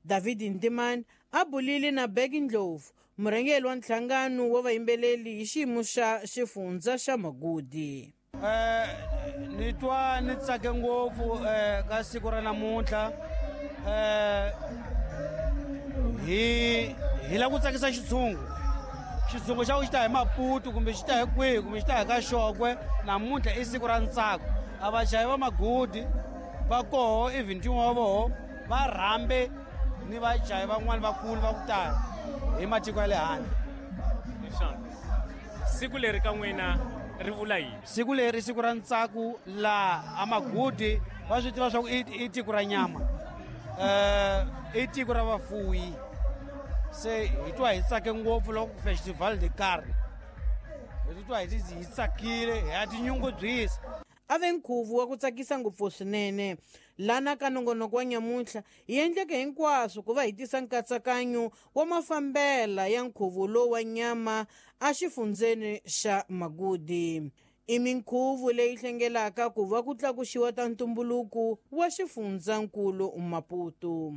David Ntimani a bulile na Bheki Ndlovu, murhangeri wa nhlangano wa vayimbeleli hi xiyimo xa xifundza xa Magudi. Ni twa ni tsake ngopfu ka siku ra namuntlha. Hi lava ku tsakisa xitshungu. Xitshungu xa ku xi ta hi Maputo kumbe xi ta hi kwihi kumbe xi ta hi ka Xokwe, namuntlha i siku ra ntsako. A vachayi va Magudi va koho, even tin'we wa voho va rhambe ni vachayi van'wani vakulu va ku tala hi matiko ya le handle. Siku leri ka n'wina ri vula yini? Siku leri i siku ra ntsako laha a Magudi va swi tiva swa ku i tiko ra nyama, i tiko ra vafuwi. Se hi twa hi tsake ngopfu loko Festival de Carne, hi titwa hi tsakile, hi ya tinyungubyisa. A ve nkhuvo wa ku tsakisa ngopfu swinene. Lana ka nongonoko wa nyamuntlha hi endleke hinkwaswo ku va hi tisa nkatsakanyo wa mafambela ya nkhuvo lowu wa nyama exifundzeni xa Magudi. I minkhuvo leyi hlengelaka ku va ku tlakuxiwa ta ntumbuluko wa xifundzankulu Maputo.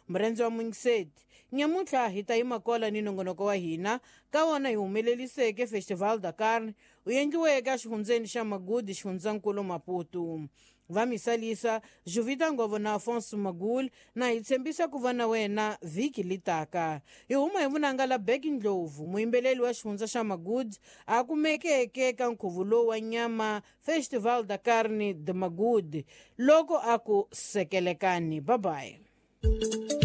Murendzi wa Mungiseti, nyamuntlha hi ta yima kola ni nongonoko wa hina ka wona hi humeleliseke Festival da Carne u endliweke exifundzeni xa Magudi, xifundzankulu Maputo. Va misalisa Juvita Ngovo na Afonso Magul na hi tshembisa ku va na wena vhiki litaka. Hi huma hi vunanga la Bheki Ndlovu, muyimbeleli wa xifundza xa Magudi, a kumekeke ka nkhuvo lowu wa nyama Festival da Carne de Magudi, loko a ku sekelekani. Bye bye.